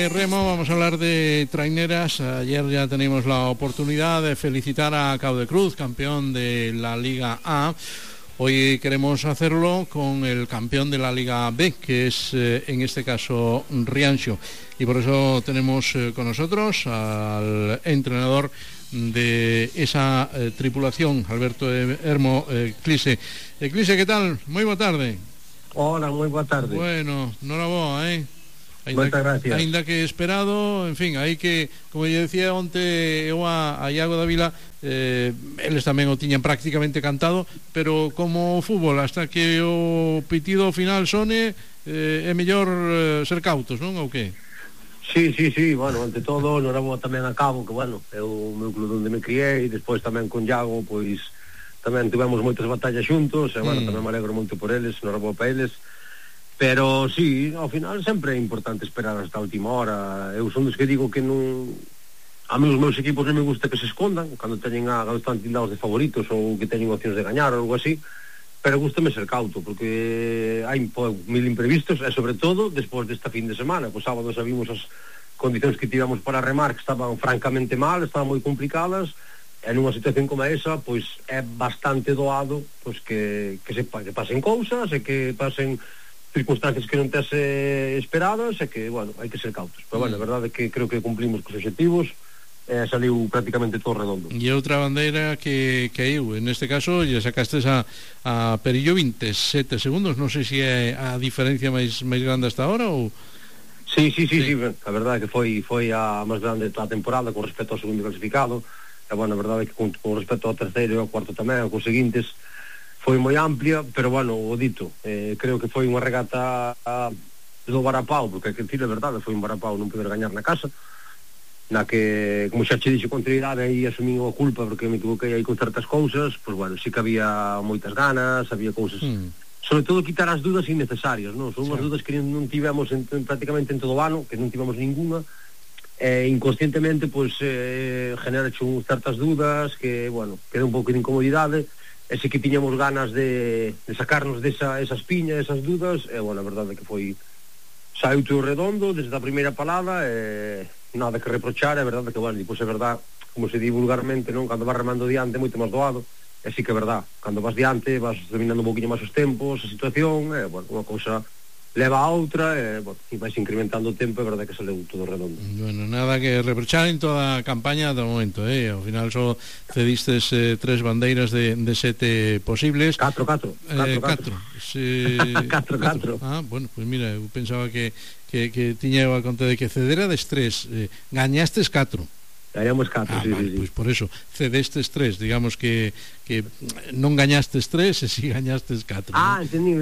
Remo, vamos a hablar de traineras. Ayer ya tenemos la oportunidad de felicitar a Caudecruz, campeón de la Liga A. Hoy queremos hacerlo con el campeón de la Liga B, que es en este caso Rianxo. Y por eso tenemos con nosotros al entrenador de esa tripulación, Alberto Hermo Clise. Clise, ¿qué tal? Muy boa tarde. Hola, moi boa tarde. Bueno, noraboa, Moitas gracias. Ainda que esperado, en fin, hai que, como eu decía onte eu a Iago Dávila, eles tamén o tiñan prácticamente cantado, pero como o fútbol, hasta que o pitido final sone, é mellor ser cautos, non? Ou que? Sí, bueno, ante todo, noraboa tamén a Cabo, que bueno, é o meu club onde me criei, e despois tamén con Iago, pois tamén tivemos moitas batallas xuntos, e bueno, tamén me alegro moito por eles, noraboa para eles. Pero sí, ao final sempre é importante esperar hasta a última hora. Eu son dos que digo que non, a mí os meus equipos non me gusta que se escondan cando están tildados de favoritos ou que teñen opcións de gañar ou algo así, pero gústame ser cauto porque hai mil imprevistos e sobre todo despois desta fin de semana. Pois sábado sabimos as condicións que tivemos para remar, que estaban francamente mal, estaban moi complicadas, e nunha situación como esa pois é bastante doado pois que pasen cousas e que pasen circunstancias que non tes esperadas e que, bueno, hai que ser cautos. Pero, bueno, a verdade é que creo que cumplimos cos objetivos e saliu prácticamente todo redondo. E outra bandeira que caíu, en este caso, lle sacastes a Perillo 27 segundos, non sei se é a diferencia máis grande hasta ahora ou... Sí, a verdade é que foi a máis grande da temporada con respecto ao segundo clasificado, e, bueno, a verdade é que con respecto ao terceiro e ao cuarto tamén, cos seguintes, foi moi amplia, pero bueno, o dito, creo que foi unha regata do varapau, porque hai que decir a verdade, foi un varapau non poder gañar na casa, na que, como xa che dixo con anterioridade, aí asumín a culpa porque me equivoquei aí con certas cousas, pois bueno, sí que había moitas ganas, había cousas, sobre todo quitar as dudas innecesarias, non? Son unhas dudas que non tivemos prácticamente en todo o ano, que non tivemos ninguna, e inconscientemente, pois, genera certas dudas, que, bueno, queda un pouco de incomodidade, e se que tiñamos ganas de sacarnos esas piñas, esas dudas, e, bueno, a verdade é que saiu todo redondo desde a primeira palada, e nada que reprochar, é verdade que, bueno, depois é verdade, como se di vulgarmente, non? Cando vas remando diante é moito máis doado, e sí que é verdade, cando vas diante vas dominando un poquinho máis os tempos, a situación, e, bueno, unha cousa leva a outra, e, bueno, e vais incrementando o tempo, é verdade que saleu todo redondo. Bueno, nada que reprochar en toda a campaña do momento, ao final só cedistes 3 bandeiras de 7 posibles. 4. Sí, 4. Ah, bueno, pues mira, eu pensaba que tiña a conta de que cedera des 3, gañastes 4. Gañamos 4, sí. Pois por eso, cedestes 3, digamos que non gañastes 3 e si gañastes 4. Entendí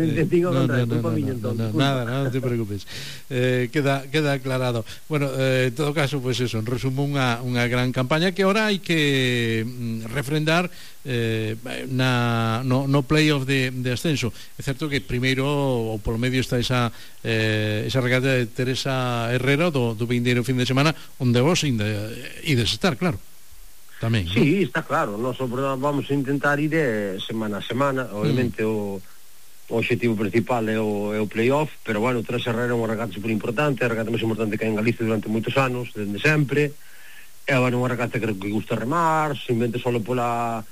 nada, non te preocupes. Queda aclarado. Bueno, en todo caso, pues eso, en resumo unha gran campaña que ahora hai que refrendar no playoff de ascenso. É certo que primeiro ou polo medio está esa regata de Teresa Herrera do vindeiro fin de semana, onde vos ides estar, claro, tamén, sí, ¿no? Está claro, nós vamos a intentar ir semana a semana, obviamente o objetivo principal é o playoff, pero bueno, Teresa Herrera é unha regata super importante, a regata máis importante que hai en Galicia durante moitos anos, desde sempre, é unha regata que gusta remar, simplemente solo pola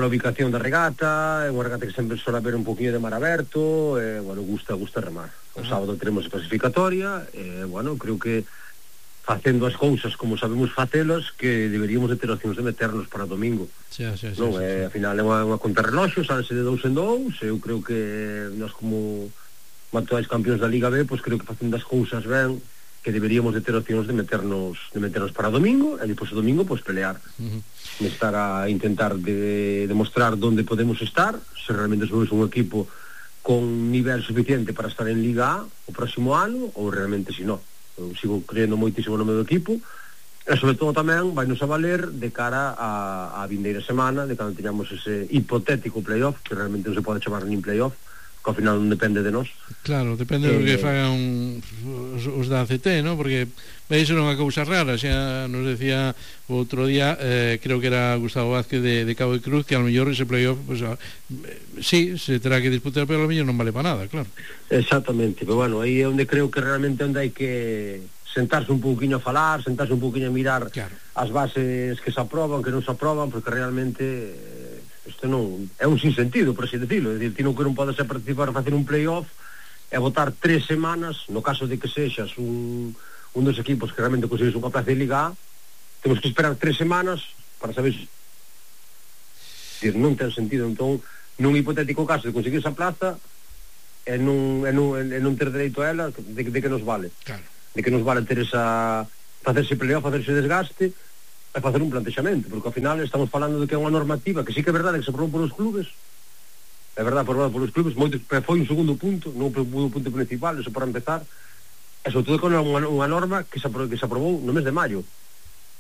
ubicación da regata, é unha regata que sempre sola ver un poquinho de mar aberto, e, bueno, gusta remar. O sábado teremos a clasificatoria, e, bueno, creo que facendo as cousas como sabemos facelas, que deberíamos de ter opcións de meternos para domingo. Sí. Ao final é unha contrarreloxo, salese de 2 en 2, eu creo que nós como actuais campións da Liga B, pois creo que facendo as cousas ben, que deberíamos de ter opcións de meternos para domingo, e depois o domingo pois pelear, estar a intentar de demostrar onde podemos estar, se realmente somos un equipo con nivel suficiente para estar en Liga A o próximo ano, ou realmente se non. Eu sigo creendo moitísimo no meu equipo, e sobre todo tamén vai nos a valer de cara a vindeira semana, de cando teñamos ese hipotético playoff, que realmente non se pode chamar nin playoff, que ao final non depende de nós. Claro, depende do que fagan os da ACT, ¿no? Porque veis non é cousa rara, xa nos decía o outro día, creo que era Gustavo Vázquez de Cabo de Cruz, que ao mellor ese playoff, pues, sí, se terá que disputar, pero ao mellor non vale para nada, claro. Exactamente, pero bueno, aí é onde creo que realmente onde hai que sentarse un pouquinho a falar, sentarse un pouquinho a mirar, claro, as bases que se aproban, que non se aproban, porque realmente isto non é un sinsentido, por así decirlo. É dicir, ti non podes participar a facer un playoff e votar 3 semanas, no caso de que sexas un dos equipos que realmente consigues unha plaza de Liga A, temos que esperar 3 semanas para saber se... Dicir, non ten sentido. Entón, nun hipotético caso de conseguir esa plaza e non ter dereito a ela, de que nos vale? Claro. De que nos vale ter esa... facerse playoff, facerse desgaste e facer un plantexamento, porque ao final estamos falando de que é unha normativa que sí que é verdade que se aprobou polos clubes, é verdade, aprobada polos clubes, moitos, foi un segundo punto, non o punto principal, eso para empezar, e sobre todo que é unha norma que se aprobou no mes de maio.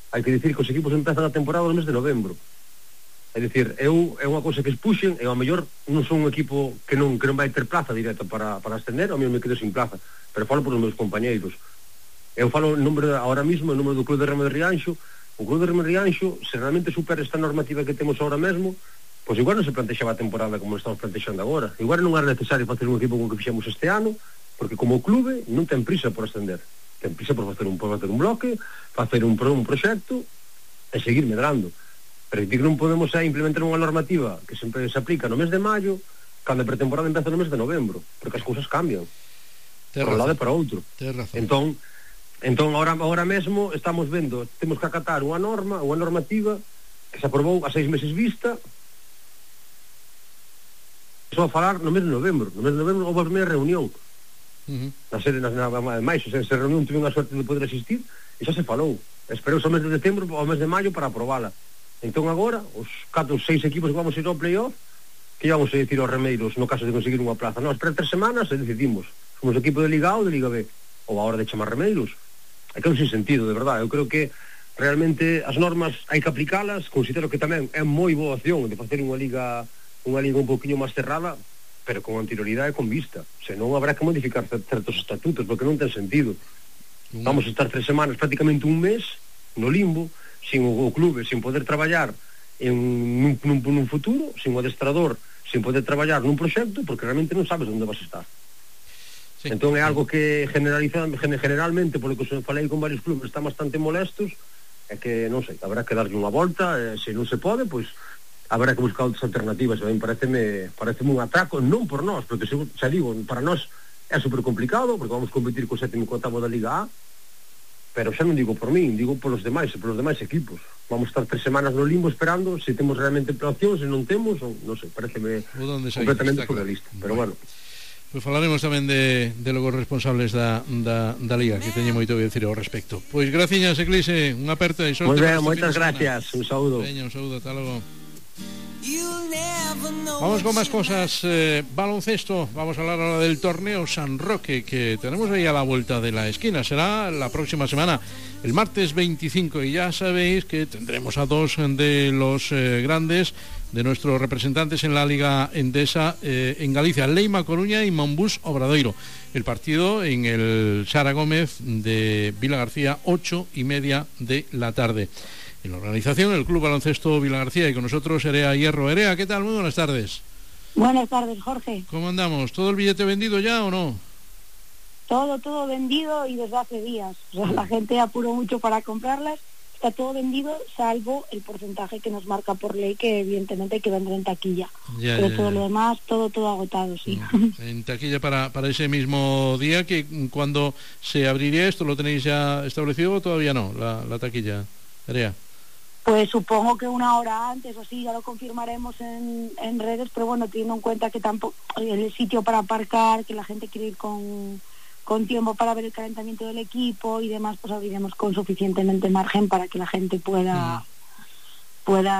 Hai que dicir que os equipos empezan a temporada no mes de novembro. É dicir, é unha cousa que expuxen, e ao mellor non son un equipo que non vai ter plaza directa para ascender, ao mellor me quedo sin plaza, pero falo por os meus compañeiros. Eu falo en nombre, ahora mismo, en nombre do Club de Remo de Rianxo. O Club de Remo de Rianxo, se realmente supera esta normativa que temos ahora mesmo, pois igual non se plantexaba a temporada como estamos plantexando agora. Igual non era necesario facer un equipo como que fixemos este ano, porque como o clube non ten prisa por ascender. Ten prisa por facer un bloque, facer un proxecto e seguir medrando. Pero que non podemos implementar unha normativa que sempre se aplica no mes de maio, cando a pretemporada empeza no mes de novembro, porque as cousas cambian. Por un lado e para outro. Entón, ahora mesmo estamos vendo, temos que acatar unha normativa que se aprobou a 6 meses vista, só a falar no mes de novembro. No mes de novembro houve a primeira reunión. Na sede, máis, se reunión tive unha suerte de poder asistir, e xa se falou. Esperou o mes de decembro ao mes de maio para aprobala. Entón agora, os 4 ou 6 equipos que vamos a ir ao playoff, que vamos a decir aos remeiros no caso de conseguir unha plaza. Non, espera 3 semanas e decidimos. Somos equipo de Liga A ou de Liga B. Ou a hora de chamar remeiros. É que é un sinsentido, de verdade. Eu creo que realmente as normas hai que aplicalas. Considero que tamén é moi boa opción de facer unha liga un pouquinho máis cerrada, pero con anterioridade e con vista. Senón habrá que modificar certos estatutos, porque non ten sentido. Vamos a estar 3 semanas, prácticamente un mes, no limbo, sin o clube, sin poder traballar nun futuro, sin o adestrador, sin poder traballar nun proxecto, porque realmente non sabes onde vas a estar. Sí. Entón é algo que generalmente, polo que falei con varios clubes, están bastante molestos, é que, non sei, habrá que darlle unha volta, se non se pode, pois habrá que buscar outras alternativas. A mí pareceme un atraco, non por nós, porque xa digo, para nós é super complicado, porque vamos competir co 7º e 8º da Liga A, pero xa non digo por min, digo polos demais equipos. Vamos estar 3 semanas no limbo esperando se temos realmente opcións, se non temos, non sei, pareceme completamente surrealista, pero bueno. Pois falaremos tamén de logo responsables da Liga, que teñen moito que decir ao respecto. Pois graciñas, Eclise, unha aperta e sorte. Moi ben, moitas gracias, un saúdo. Veña, un saúdo, ata logo. Vamos con más cosas. Baloncesto, vamos a hablar ahora del torneo San Roque, que tenemos ahí a la vuelta de la esquina. Será la próxima semana, el martes 25, y ya sabéis que tendremos a dos de los grandes de nuestros representantes en la Liga Endesa en Galicia, Leima Coruña y Monbús Obradoiro. El partido en el Sara Gómez de Vilagarcía, 8:30 de la tarde. En la organización, el Club Baloncesto Vilagarcía, y con nosotros Erea Hierro. Erea, ¿qué tal? Muy buenas tardes. Buenas tardes, Jorge. ¿Cómo andamos? ¿Todo el billete vendido ya o no? Todo vendido, y desde hace días. O sea, la gente apuró mucho para comprarlas. Está todo vendido, salvo el porcentaje que nos marca por ley, que evidentemente hay que vender en taquilla. Pero todo lo demás, todo agotado, sí. En taquilla para ese mismo día, que cuando se abriría esto, ¿lo tenéis ya establecido o todavía no, la taquilla, Erea? Pues supongo que una hora antes o así, ya lo confirmaremos en redes, pero bueno, teniendo en cuenta que tampoco el sitio para aparcar, que la gente quiere ir con tiempo para ver el calentamiento del equipo y demás, pues abriremos con suficientemente margen para que la gente pueda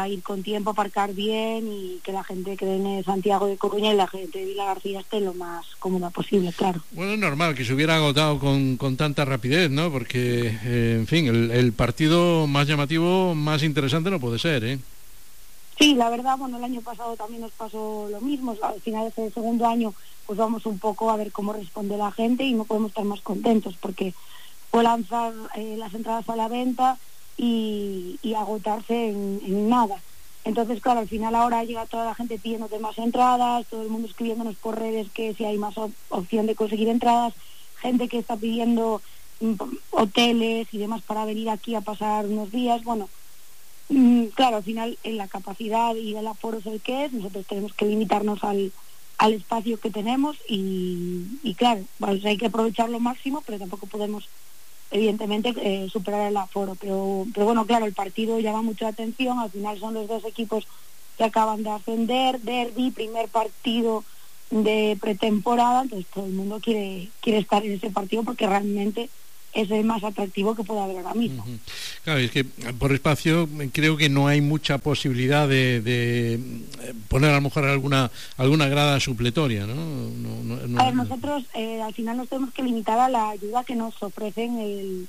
ir con tiempo, aparcar bien, y que la gente que viene de Santiago de Coruña y la gente de Vilagarcía esté lo más cómoda posible, claro. Bueno, es normal que se hubiera agotado con tanta rapidez, ¿no? Porque, en fin, el partido más llamativo, más interesante no puede ser, ¿eh? Sí, la verdad, bueno, el año pasado también nos pasó lo mismo. Al final del segundo año pues vamos un poco a ver cómo responde la gente y no podemos estar más contentos porque fue lanzar las entradas a la venta y agotarse en nada. Entonces, claro, al final ahora llega toda la gente pidiéndote más entradas, todo el mundo escribiéndonos por redes que si hay más opción de conseguir entradas, gente que está pidiendo hoteles y demás para venir aquí a pasar unos días. Bueno, claro, al final en la capacidad y el aforo es el que es, nosotros tenemos que limitarnos al espacio que tenemos y claro, pues hay que aprovechar lo máximo, pero tampoco podemos evidentemente superar el aforo, pero bueno, claro, el partido llama mucho la atención. Al final son los dos equipos que acaban de ascender, derbi, primer partido de pretemporada, entonces todo el mundo quiere estar en ese partido porque realmente es el más atractivo que puede haber ahora mismo. Claro, es que por espacio creo que no hay mucha posibilidad de poner a lo mejor alguna grada supletoria, ¿no? A ver, nosotros al final nos tenemos que limitar a la ayuda que nos ofrecen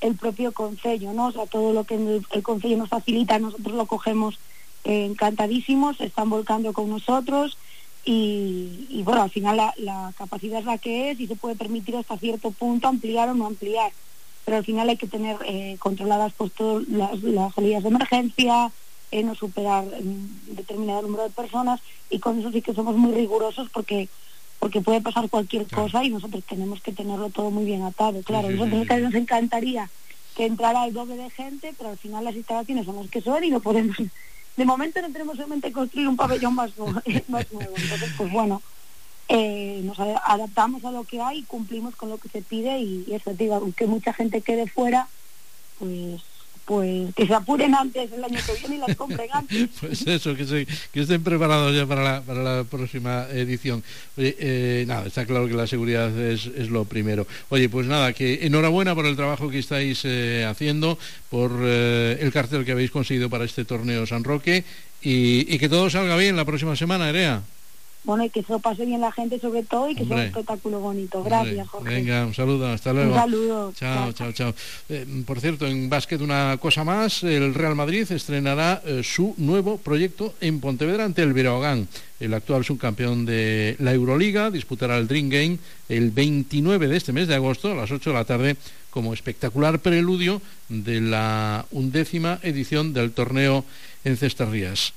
el propio concello, ¿no? O sea, todo lo que el concello nos facilita, nosotros lo cogemos encantadísimos, se están volcando con nosotros y bueno, al final la capacidad es la que es y se puede permitir hasta cierto punto ampliar o no ampliar, pero al final hay que tener controladas pues todas las salidas de emergencia, no superar determinado número de personas, y con eso sí que somos muy rigurosos porque puede pasar cualquier cosa y nosotros tenemos que tenerlo todo muy bien atado. Claro, nosotros nos encantaría que entrara el doble de gente, pero al final las instalaciones son las que son y no podemos. De momento no tenemos en mente construir un pabellón más nuevo. Entonces, pues bueno, nos adaptamos a lo que hay, cumplimos con lo que se pide y eso, digo, aunque mucha gente quede fuera, pues que se apuren antes el año que viene y las compren antes. Pues eso, que estén preparados ya para la próxima edición. Oye, nada, está claro que la seguridad es lo primero. Oye, pues nada, que enhorabuena por el trabajo que estáis haciendo, por el cartel que habéis conseguido para este torneo San Roque y que todo salga bien la próxima semana, Erea. Bueno, y que se lo pase bien la gente sobre todo y que sea un espectáculo bonito. Gracias, Jorge. Venga, un saludo, hasta luego. Un saludo. Chao. Por cierto, en básquet una cosa más, el Real Madrid estrenará su nuevo proyecto en Pontevedra ante el Breogán. El actual subcampeón de la Euroliga disputará el Dream Game el 29 de este mes de agosto a las 8 de la tarde como espectacular preludio de la 11ª edición del torneo en Cestarrías.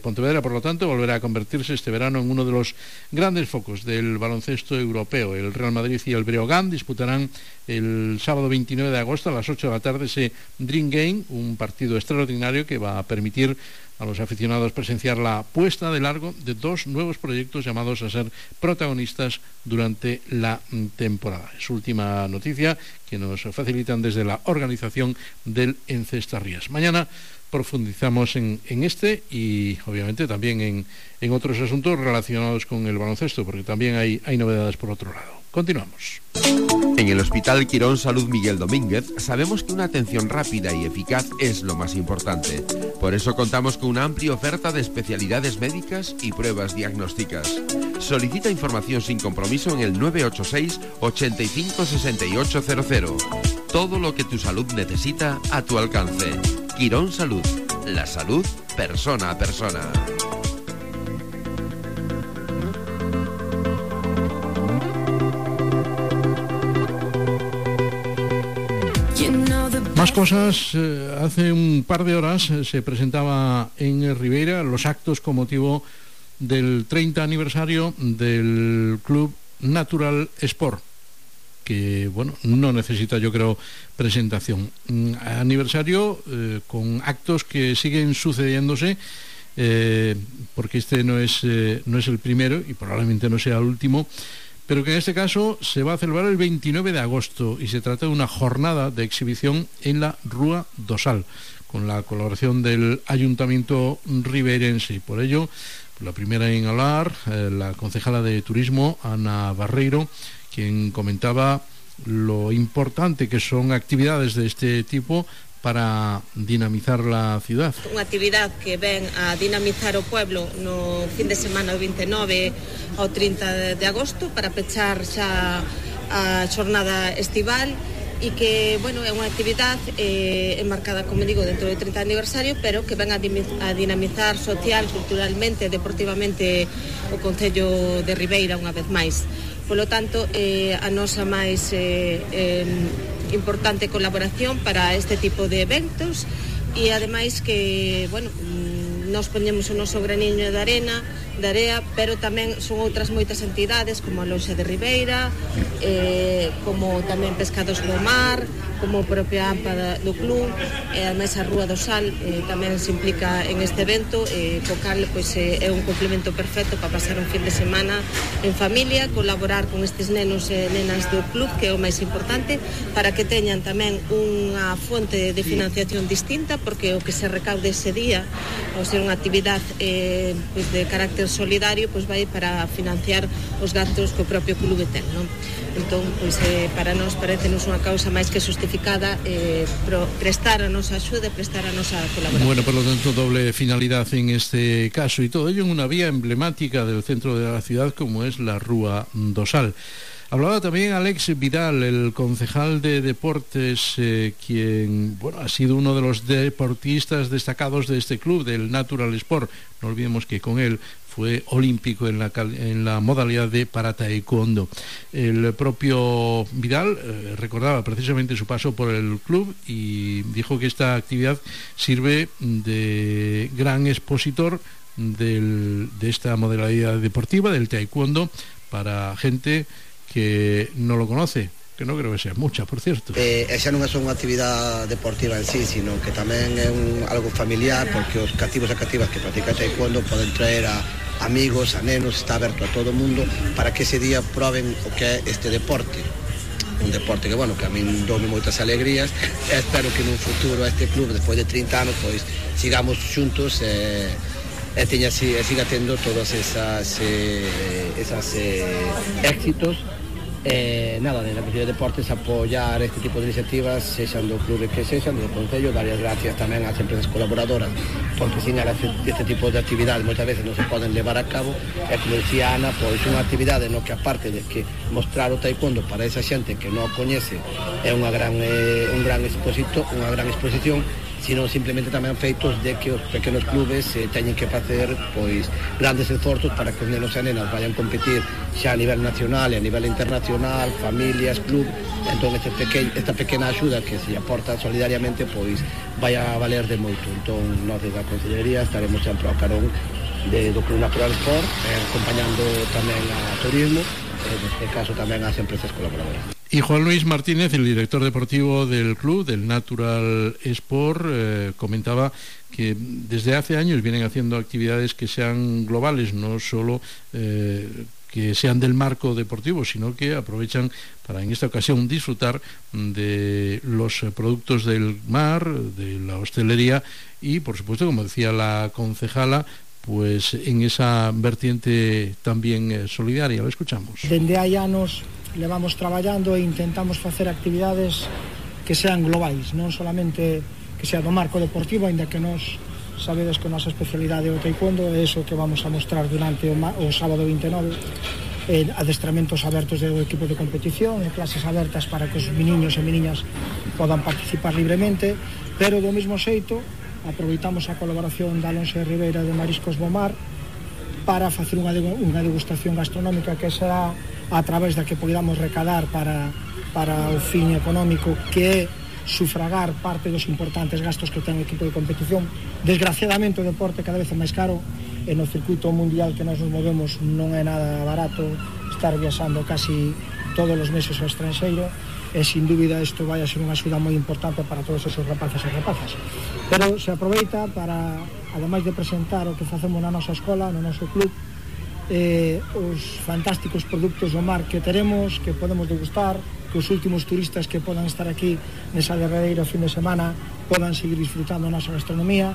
Pontevedra, por lo tanto, volverá a convertirse este verano en uno de los grandes focos del baloncesto europeo. El Real Madrid y el Breogán disputarán el sábado 29 de agosto a las 8 de la tarde ese Dream Game, un partido extraordinario que va a permitir a los aficionados presenciar la puesta de largo de dos nuevos proyectos llamados a ser protagonistas durante la temporada. Es última noticia que nos facilitan desde la organización del Encestarrías. Mañana profundizamos en este y obviamente también en otros asuntos relacionados con el baloncesto, porque también hay novedades por otro lado. Continuamos. En el Hospital Quirón Salud Miguel Domínguez sabemos que una atención rápida y eficaz es lo más importante. Por eso contamos con una amplia oferta de especialidades médicas y pruebas diagnósticas. Solicita información sin compromiso en el 986 85 6800. Todo lo que tu salud necesita a tu alcance. Quirón Salud. La salud persona a persona. Más cosas. Hace un par de horas se presentaba en Ribeira los actos con motivo del 30 aniversario del Club Natural Sport, que bueno, no necesita, yo creo, presentación. Aniversario con actos que siguen sucediéndose, porque este no es el primero y probablemente no sea el último, pero que en este caso se va a celebrar el 29 de agosto y se trata de una jornada de exhibición en la Rúa do Sal, con la colaboración del Ayuntamiento ribeirense. Y por ello, la primera en hablar, la concejala de Turismo, Ana Barreiro, quien comentaba lo importante que son actividades de este tipo para dinamizar la ciudad. Unha actividade que ven a dinamizar o pueblo no fin de semana do 29 ao 30 de agosto para pechar xa a xornada estival e que, bueno, é unha actividade enmarcada, como digo, dentro do 30 aniversario, pero que ven a dinamizar social, culturalmente, deportivamente o Concello de Ribeira unha vez máis. Polo tanto, a nosa máis importante colaboración para este tipo de eventos, e ademais que, bueno, nos poñemos o noso graniño de area, pero tamén son outras moitas entidades como a Loxa de Ribeira, como tamén Pescados do Mar, como a propia AMPA do club, e ademais a Rúa do Sal tamén se implica en este evento, co cal pois, é un complemento perfecto para pasar un fin de semana en familia, colaborar con estes nenos e nenas do club, que é o máis importante, para que teñan tamén unha fonte de financiación distinta, porque o que se recaude ese día, ao ser unha actividade pois, de carácter solidario, pois vai para financiar os gastos que o propio clube ten, non? Entón, pois, para nós parecenos unha causa máis que justificada prestar a nosa axuda, prestar a nosa colaboración. Bueno, por lo tanto, doble finalidad en este caso, y todo ello en una vía emblemática del centro de la ciudad como es la Rúa do Sal. Hablaba también Alex Vidal, el concejal de deportes, quien, bueno, ha sido uno de los deportistas destacados de este club, del Natural Sport. No olvidemos que con él fue olímpico en la modalidad de para-taekwondo. El propio Vidal recordaba precisamente su paso por el club y dijo que esta actividad sirve de gran expositor de esta modalidad deportiva, del taekwondo, para gente que no lo conoce, que non creo que sea mucha, por cierto. Esa non é só unha actividade deportiva en sí, sino que tamén é algo familiar, porque os cativos e cativas que practican taekwondo poden traer a amigos, a nenos, está aberto a todo o mundo para que ese día proben o que é este deporte. Un deporte que, bueno, que a min dome moitas alegrías, e espero que nun futuro este club, despois de 30 anos, pois sigamos xuntos e siga tendo todos esas éxitos. Nada, na Consellería de Deportes apoiar este tipo de iniciativas, sexan do clube que sexan, do Concello, dar as gracias tamén ás empresas colaboradoras, porque sin elas este tipo de actividades moitas veces non se poden levar a cabo, e como dicía Ana, pois unha actividade no que aparte de que mostrar o taekwondo para esa xente que non o coñece é un gran exposición, sino simplemente tamén feitos de que os pequenos clubes teñen que facer pois grandes esforzos para que os nenos e nenas vayan competir xa a nivel nacional e a nivel internacional, familias, club. Entón esta pequena axuda que se aporta solidariamente pois vai a valer de moito. Entón nós desde a Consellería estaremos sempre ao carón do Club Natural Sport, acompañando tamén a turismo, neste caso tamén ás empresas colaboradoras. Y Juan Luis Martínez, el director deportivo del club, del Natural Sport, comentaba que desde hace años vienen haciendo actividades que sean globales, no solo que sean del marco deportivo, sino que aprovechan para en esta ocasión disfrutar de los productos del mar, de la hostelería y, por supuesto, como decía la concejala, pues en esa vertiente también solidaria. Lo escuchamos. Dende hai anos levamos traballando e intentamos facer actividades que sean globais, non solamente que sea do marco deportivo, ainda que nos sabedes que a nosa especialidade é o taekwondo, é iso que vamos a mostrar durante o sábado 29, adestramentos abertos do equipo de competición e clases abertas para que os meniños e meniñas podan participar libremente, pero do mesmo xeito aproveitamos a colaboración da Alonso de Ribeira de Mariscos do Mar para facer unha degustación gastronómica que será a través da que podamos recadar para o fin económico, que é sufragar parte dos importantes gastos que ten o equipo de competición. Desgraciadamente o deporte cada vez é máis caro e no circuito mundial que nos movemos non é nada barato estar viaxando casi todos os meses ao estranxeiro, e sin dúbida isto vai a ser unha axuda moi importante para todos esos rapaces e rapazas. Pero se aproveita para, ademais de presentar o que facemos na nosa escola, no noso club, os fantásticos produtos do mar que teremos, que podemos degustar, que os últimos turistas que podan estar aquí nesa derradeira fin de semana podan seguir disfrutando a nosa gastronomía,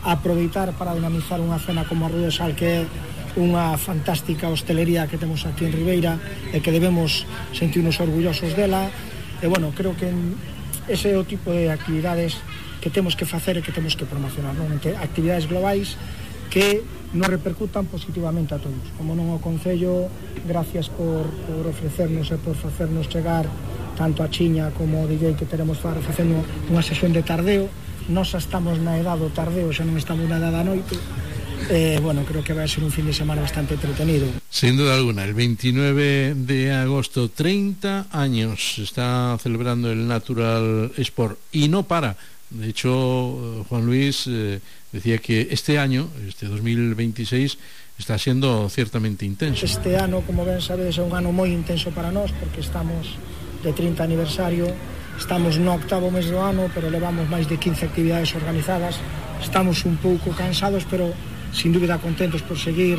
aproveitar para dinamizar unha cena como a Rúa do Sal, que é unha fantástica hostelería que temos aquí en Ribeira e que debemos sentirnos orgullosos dela. E bueno, creo que ese é o tipo de actividades que temos que facer e que temos que promocionar, non? Actividades globais que nos repercutan positivamente a todos. Como non o Concello, gracias por ofrecernos e por facernos chegar tanto a Chiña como o DJ que teremos facendo unha sesión de tardeo. Nós estamos na edad do tardeo, xa non estamos na edad da noite. Bueno, creo que vai ser un fin de semana bastante entretenido. Sin duda alguna, el 29 de agosto, 30 años está celebrando el Natural Sport y no para. De hecho, Juan Luis decía que este año, este 2026, está siendo ciertamente intenso. Este ano, como ben sabedes, é un ano moi intenso para nós, porque estamos de 30 aniversario, estamos no 8º mes do ano, pero levamos máis de 15 actividades organizadas. Estamos un pouco cansados, pero sin dúbida contentos por seguir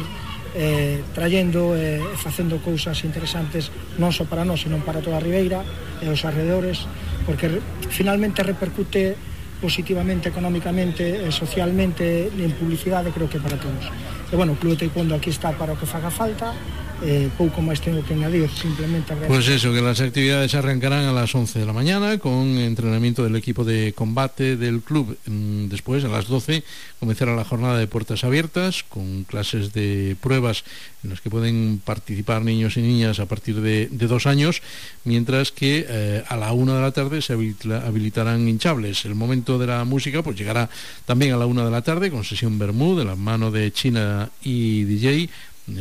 trayendo e facendo cousas interesantes non só para nós, senón para toda a Ribeira e os arredores, porque finalmente repercute positivamente, económicamente, socialmente, en publicidade, creo que para todos. E bueno, o Club de Taekwondo aquí está para o que faga falta, pouco máis tengo que añadir, simplemente agradecer. Pues eso, que las actividades arrancarán a las 11 de la mañana con entrenamiento del equipo de combate del club. Después, a las 12, comenzará la jornada de puertas abiertas con clases de pruebas en las que pueden participar niños y niñas a partir de 2 años, mientras que a la 1 de la tarde se habilitarán hinchables. El momento de la música pues llegará también a la 1 de la tarde con sesión Bermú de la mano de China y DJ